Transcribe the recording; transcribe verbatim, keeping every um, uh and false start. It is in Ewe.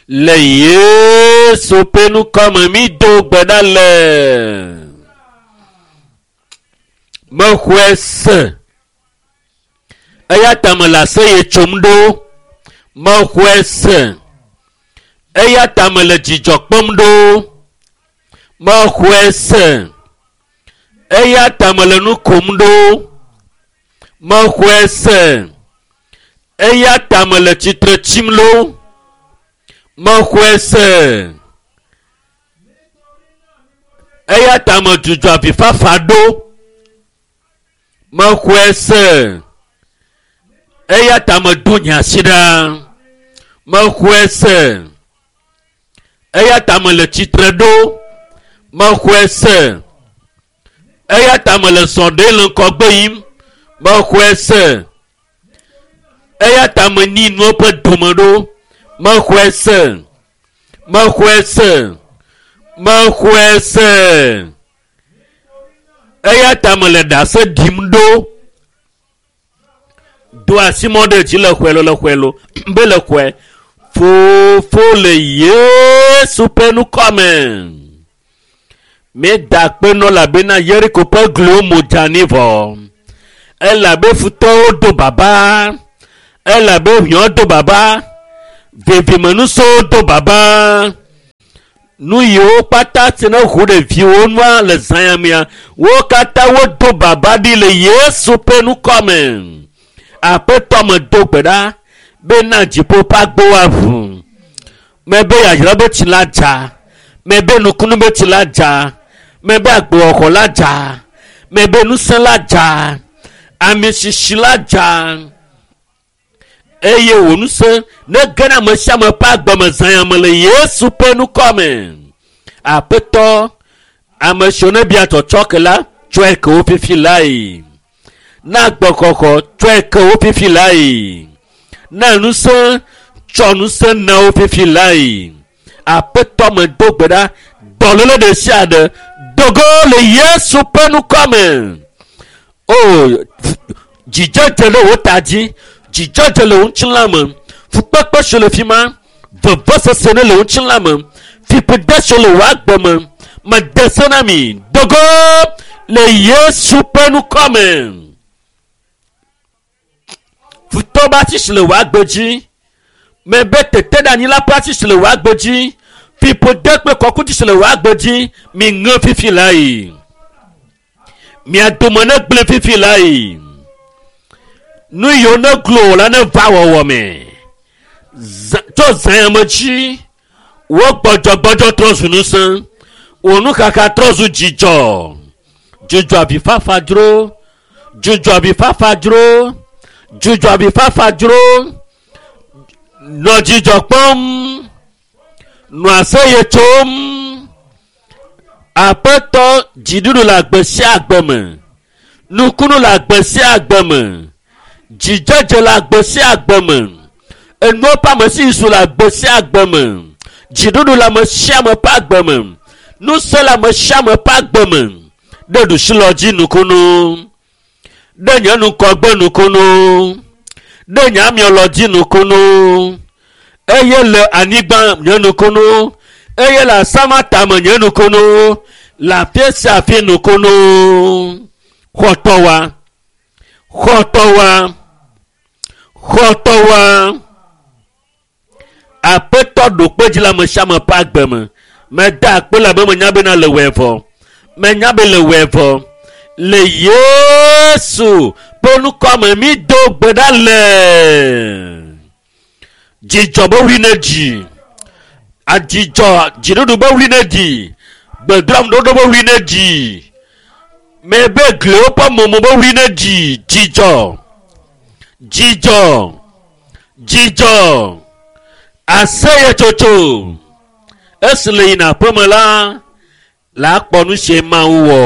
Le Yesu ƒe ŋkɔme mi do gbe ɖa le. Mexɔe se. Eya ta mele aseye tsom ɖo. Mexɔe se. Eya ta mele dzidzɔ kpɔm ɖo. Mexɔe se. Eya ta mele nu kom ɖo. Mexɔe se. Eya ta mele tsitre tsim ɖo. Mexɔe se. Eya ta medzudzɔ avifafa ɖo. Mexɔe se. Eya ta medo nye asi ɖa. Mexɔe se. Eya ta mele tsitre ɖo. Mexɔe se. Eya ta mele zɔ ɖe le ŋgɔgbe yim. Mexɔe se. Eya ta menyi nuwo ƒe dome ɖo. Mexɔe se. Mexɔe se. Mexɔe se. Eya ta mele ɖase ɖim ɖo. Do asi mɔ ɖe dzi le xɔe lo le xɔe lo be le xɔe. Fofo le Yesu ƒe ŋkɔme. Míeda akpe nɔ elabena Yeriko ƒe gliwo mo dze anyi vɔ. Elabe futɔwo do baba. Elabe ʋiɔ do baba. Vevimenusowo do baba. Nu yiwo kpata si ne ʋu ɖeviwo nua le zã ya mea, wo katã wodo baba ɖi le Yesu ƒe ŋkɔme. Aƒetɔ me do gbe ɖa bena dziƒo ƒe agbowo aʋu. Mebe yayra be tsi la dza. Mebe nukunu be tsi la dza. Mebe agbewɔxɔ la dza. Mebe ŋusẽ la dza. Ami sisi la dza. Eye wò ŋusẽ ne ge ɖe ame sia ame ƒe agbeme zã ya me le Yesu ƒe ŋkɔme. Aƒetɔ, ame siwo ne bia tsɔtsɔke la, tsɔe ke wo fifi lae. Na agbexɔxɔ, tsɔe ke wo fifi lae. Na ŋusẽ, tsɔ ŋusẽ na wo fifi lae. Aƒetɔ me do gbe ɖa, dɔléle ɖe sia ɖe dogo le Yesu ƒe ŋkɔme. O, dzidzedze ɖe wò ta dzi, dzidzedze le wò ŋutilã me, fukpekpe si le fi ma, vevesese ne le wò ŋutilã me, fiƒode si le wò agbe me, mede se na mi, dogo le Yesu ƒe ŋkɔme. Futɔ be asi si le wò agbe dzi, mebe teteɖeanyi la ƒe asi si le wò agbe dzi, fiƒode kple kɔkuti si le wò agbe dzi, mi ŋe fifi lae. Mia dome ne gblẽ fifi lae. Nu yiwo ne glo wò la ne va wɔwɔ me. Zã tso zã ya me dzi, wò gbɔdzɔgbɔdzɔ trɔ zu ŋusẽ, wò nuxaxa trɔ zu dzidzɔ. Dzudzɔ avifafa dzro, dzudzɔ avifafa dzro, dzudzɔ avifafa dzro. Nɔ dzidzɔ kpɔm, nɔ aseye tsom. Aƒetɔ dziɖuɖu le agbe sia agbe me. Nukunu le agbe sia agbe me. Dzidzedze le agbe sia agbe me. Enuwo ƒe ame si su le agbe sia agbe me. Dziɖuɖu le ame sia ame ƒe agbe me. Ŋusẽ le ame sia ame ƒe agbe me. Ɖe ɖusilɔ dzi nukunu. Ɖe nye ŋgɔgbe nukunu. Ɖe nye amiɔlɔ dzi nukunu. Eye le anyigba nye nukunu. Eye le asama tame nye nukunu. Le afi sia afi nukunu. Xɔtɔwa. Xɔtɔwa. Xɔtɔwa. Aƒetɔ ɖo kpe dzi le ame sia ame ƒe agbe me. Meda akpe le abe menya bena le wɔe vɔ. Menya be le wɔe vɔ. Le Yesu ƒe ŋkɔme mi do gbe ɖa le. Dzidzɔ be wli ne dzi. Adzidzɔ dziɖuɖu be wli ne dzi. Gbedoameɖoɖo be wli ne dzi. Mebe gliwo ƒe momo be wli ne dzi. Dzidzɔ. Dzidzɔ. Dzidzɔ. Aseyetsotso. Esi le yina aƒeme la, la kpɔ nu si Mawu wɔ.